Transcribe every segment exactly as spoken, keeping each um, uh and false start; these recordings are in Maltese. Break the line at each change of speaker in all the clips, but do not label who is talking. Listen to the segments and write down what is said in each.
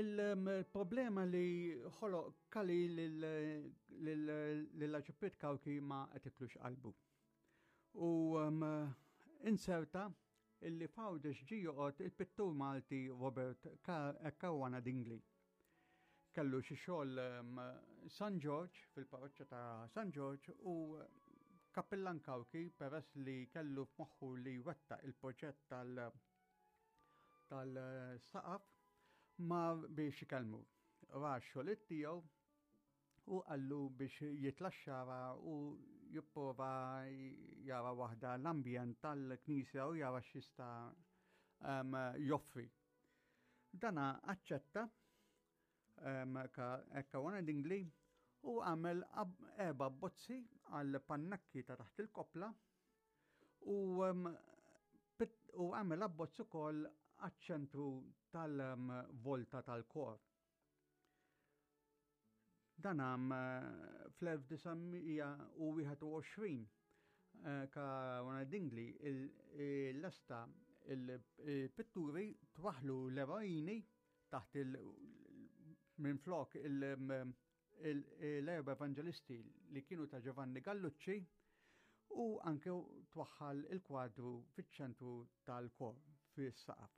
Il-problema li ħoloq Calì lill-Arċipriet Cauchi ma qatitlux qalbu. U um, inserta illi f'Għawdex ġie joqgħod il-pittur Malti Robert Caruana Dingli. Kellu xi xogħol um, San George, fil-parroċċa ta' San George, u Kappillan Cauchi, peress li kellu f'moħħu li wettaq il-proġett tal- tal-saqaf, ma biex ikellmu. Ra x-xogħlijiet tiegħu u qallu biex jitla' x-Xagħra u jipprova jara waħda l-ambjent tal-knisja u jara x'jista' um, joffri. Dana aċċetta um, Caruana Dingli u għamel erba' bozzi għal pannakki ta' taħt il-kopla u um, u għamel abbozz ukoll għaċ-ċentru tal-volta tal-kor. Dan għam fl-elf disa' mija u wieħed u għoxrin Caruana Dingli l-lesta il-pitturi twaħlu l-eroini taħt il minn flok l-erba' evangelisti li kienu ta' Giovanni Gallucci u anke twaħħal il-kwadru fiċ-ċentru tal-kor fis-saqaf.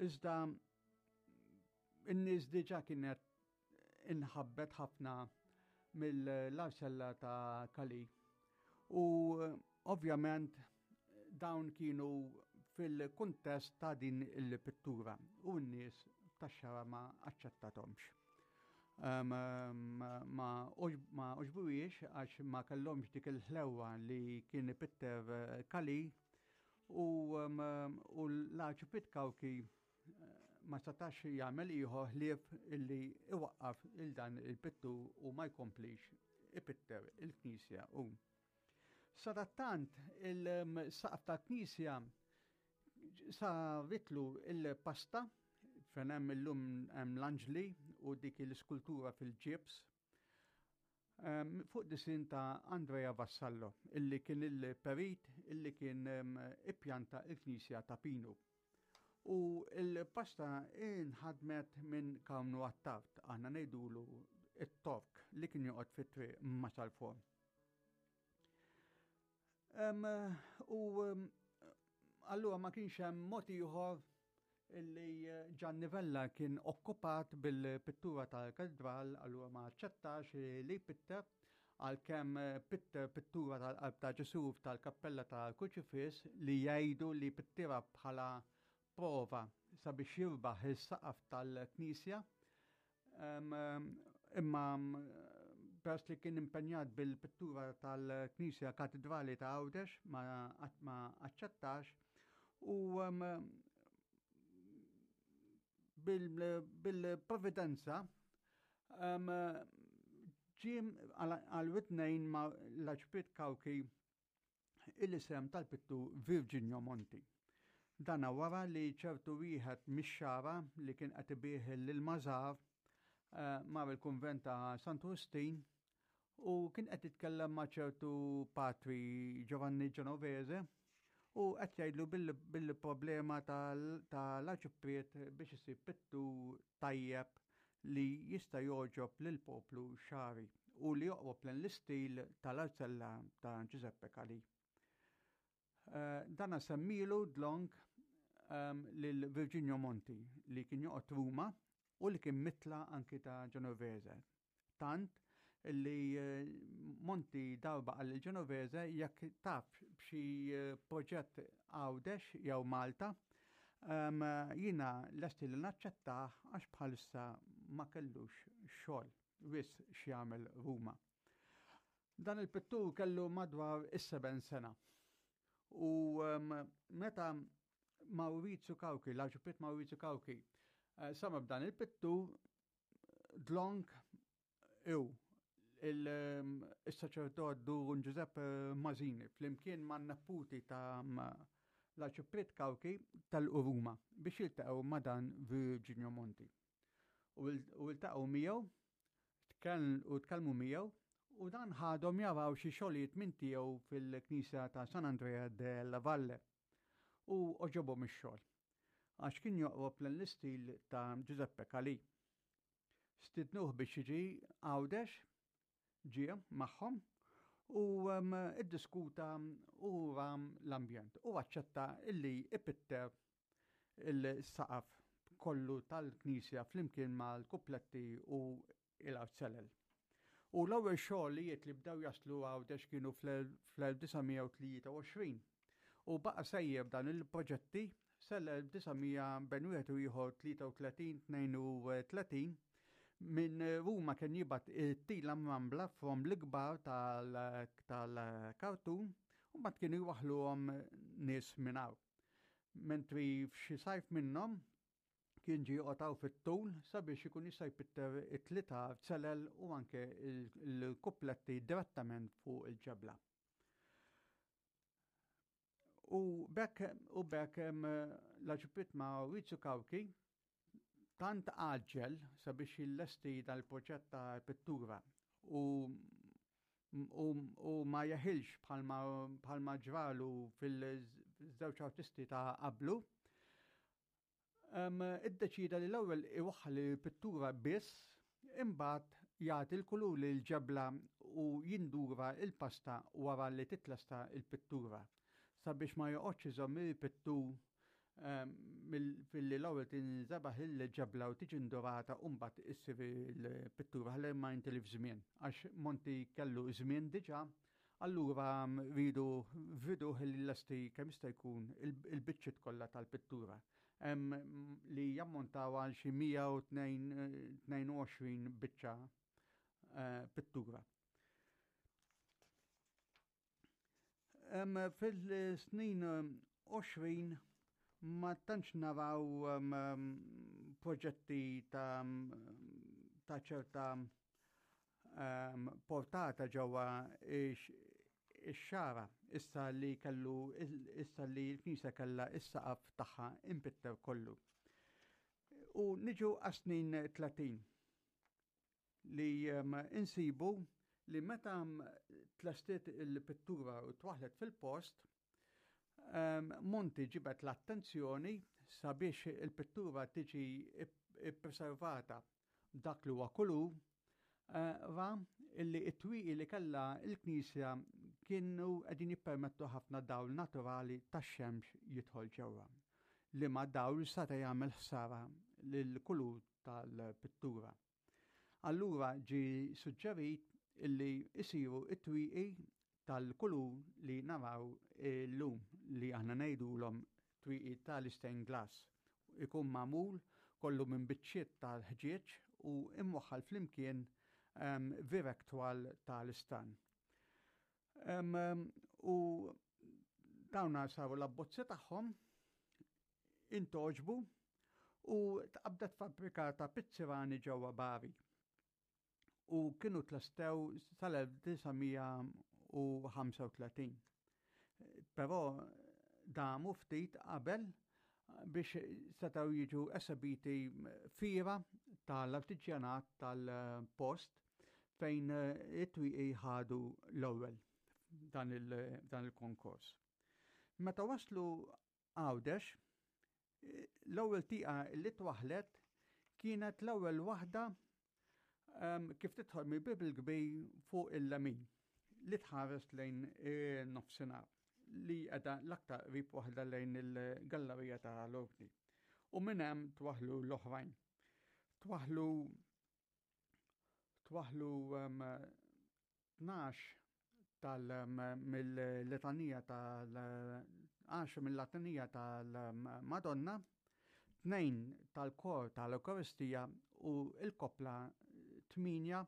Iżda in-nies diġà kienet inħabbet ħafna mill-arsella ta' Calì u ovvjament dawn kienu fil-kuntest ta' din il-pittura u n-nies tax-Xagħra ma aċċettatomx. Em, em, ma ma oġbuwiex għax ma kellhomx dik il-ħlewa li kien ipitter Calì u, em, u l-Arċipriet Cauchi ma setax jagħmel ieħor ħlief illi iwaqqaf il dan il-pittur u ma jkomplix ipitter il-knisja. U sadattant il-saqaf tal-knisja saritlu il-pasta fejn hemm illum hemm l-anġli u dik l-iskultura fil-ġibs, em, fuq disin ta' Andrea Vassallo, illi kien il-perit illi kien, em, ippjanta il-knisja ta' Pinu. U il-pasta inħadmet minn Karmnu Attard, aħna ngħidulu it-Tork li kien joqgħod fit-triq Marsalforn. Em, u, em, allura ma kienx hemm mod ieħor illi Gianni Vella kien okkupat bil-pittura tal-katedral, allura ma aċċettax li jpitter, għalkemm pitter pittura tal-qalb ta' Ġesu tal-kappella tal-Kruċifiss li jgħidu li pittira bħala prova sabiex jirbaħ is-saqaf tal-knisja. Em, imma peress li kien impenjat bil-pittura tal-Knisja Katedrali ta' Għawdex ma, ma aċċettax u, em, bil-, bil-providenza, em, ġie għal witnejn ma l-Arċipriet Cauchi il-isem tal-pittur Virginio Monti. Dana wara li ċertu wieħed mix-Xagħra li kien qed ibih lil-mażar, eh, mar il-kunvent ta' Santu Wistin u kien qed jitkellem ma' ċertu patri Giovanni Genovese u qed jgħidlu bil-, bil-problema tal-, tal-arċipriet biex isib pittur tajjeb li jista' jogħġob lill-poplu xagħri u li joqrob lejn l-istil tal-arzella ta' Giuseppe Calì. Eh, dana semmilu dlonk, ehm, lil Virginio Monti li kien joqgħod Ruma u li kien mitla anki ta' Genovese. Tant li, eh, Monti darba qal lil Genovese jekk taf b'xi, eh, proġett Għawdex jew Malta, ehm, jiena lesti li naċċettah għax bħalissa ma kellux xogħol wis x'jagħmel Ruma. Dan il-pittur kellu madwar is-seben sena. U, ehm, meta Maurizio Cauchi, l-Arċipriet Maurizio Cauchi, eh, sama b'dan il-pittur dlonk iw il, ehm, il-saċerdot Dun Giuseppe Masini flimkien ma' neputi ta' l-Arċipriet Cauchi tal-Ruma biex jiltaqgħu ma' dan Virginio Monti. U il-, u iltaqgħu miegħu, tkell-, u tkellmu miegħu, u dan ħadhom jaraw xi xogħlijiet minn tiegħu fil-Knisja ta' San Andrea della Valle u oġobhom ix-xogħol. għax kien joqrob lejn l-istil ta' Giuseppe Calì. Stidnuh biex jiġi Għawdex, ġie magħhom u iddiskuta u ra l-ambjent u aċċetta illi ipitter il-saqaf kollu tal-knisja flimkien mal-kupletti u il-arzelel. U l-ewwel xogħlijiet li bdew jaslu Għawdex kienu fl-elf disa' mija u tlieta u għoxrin u baqa' sejjer dan il-proġetti sal-elf disa' mija bejn wieħed u ieħor tlieta u tletin, tnejn u tletin. Minn Ruma kien jibgħat it-tila mrambla from l-ikbar tal-kartun u mbagħad kienu jwaħħluhom nies minn hawn. Mentri f'xi sajf minnhom kien ġie joqgħod fit-tul sabiex ikun jista' jpitter it-tliet arzelel u anke l-kupletti direttament fuq il-ġebla. U bekk u bekk l-Arċipriet Maurizio Cauchi tant għaġġel sabiex jillesti dal-proġett ta' pittura u, u, u ma jeħilx bħalma, bħalma ġralu fil-żewġ artisti ta' qablu, um, iddeċida li l-ewwel iwaħħal il-pittura biss, imbagħad jagħti l-kulur lil ġebla u jindura il-pasta wara li titlesta il-pittura sabiex ma joqgħodx iżomm il-pittur filli l-ewwel tinżebaħ il-ġebla u tiġi ndurata u mbagħad issir il-pittura, ħalli ma jintilif żmien, għax Monti kellu żmien diġà, allura ridu vidu li lesti kemm jista' jkun il-biċċiet kollha tal-pittura li jammontaw għal xi mija u tnejn u għoxrin biċċa eh, pittura. Fil-snin għoxrin ma tantx naraw proġetti ta' ta' ċerta portata ġewwa ix-Xagħra, issa li kellu issa li l-knisja kellha is-saqaf tagħha impitter kollu. U niġu għas-snin tletin li insibu li meta tlestiet il-pittura u twaħlet fil-post, Monti ġibet l-attenzjoni sabiex il-pittura tiġi ippreservata dak li huwa kulur, eh, ra illi it-twieqi li kellha il-knisja kienu qegħdin jippermettu ħafna dawl naturali tax-xemx jidħol ġewwa, li ma dawl seta' jagħmel ħsara lill-kulur tal-pittura. Allura ġi suġġerit illi isiru it-twieqi tal-kulur li naraw illum, li aħna ngħidulhom twieqi tal-stained glass. Ikun magħmul kollu minn biċċiet tal-ħġieġ u imwaħħal flimkien um, vireg twal tal-istan. Um, u dawna saru l-abbozzi tagħhom, intgħoġbu u tqabdet fabbrika ta' pizzirani ġewwa Bari u kienu tlestew sal-elf disa' mija u ħamsa u tletin. Però damu ftit qabel biex setgħu jiġu esebiti fira tal-artiġjanat tal-post fejn it-twieqi ħadu l-ewwel dan il-konkors. Meta waslu Għawdex, l-ewwel tieqa li twaħlet kienet l-ewwel waħda kif tidħol mill-bib il-kbir fuq il-lemin li tħares lejn nofsinhar, li qiegħda l-aktar qrib waħda lejn il-gallerija tal-Ordni. U minn hemm twaħlu l-oħrajn. Twaħlu twaħlu tnax tal mill-litanija tal għaxra mill-litanija tal-Madonna, tnejn tal-kor tal-Eukaristija u il-koppla tmienja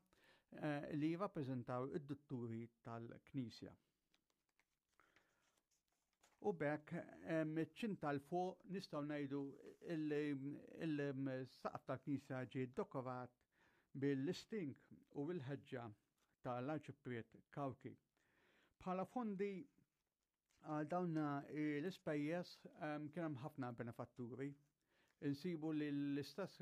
eh, li jirrappreżentaw id-dutturi tal-Knisja. U bekk ċinta 'l fuq nistgħu ngħidu il-saqaf tal-Knisja ġie dekorat bil-istink u bil-ħeġġa tal-Arċipriet Cauchi. Bħala fondi għal dawn l-ispejjeż kien hemm ħafna benefatturi. Insibu li l-istess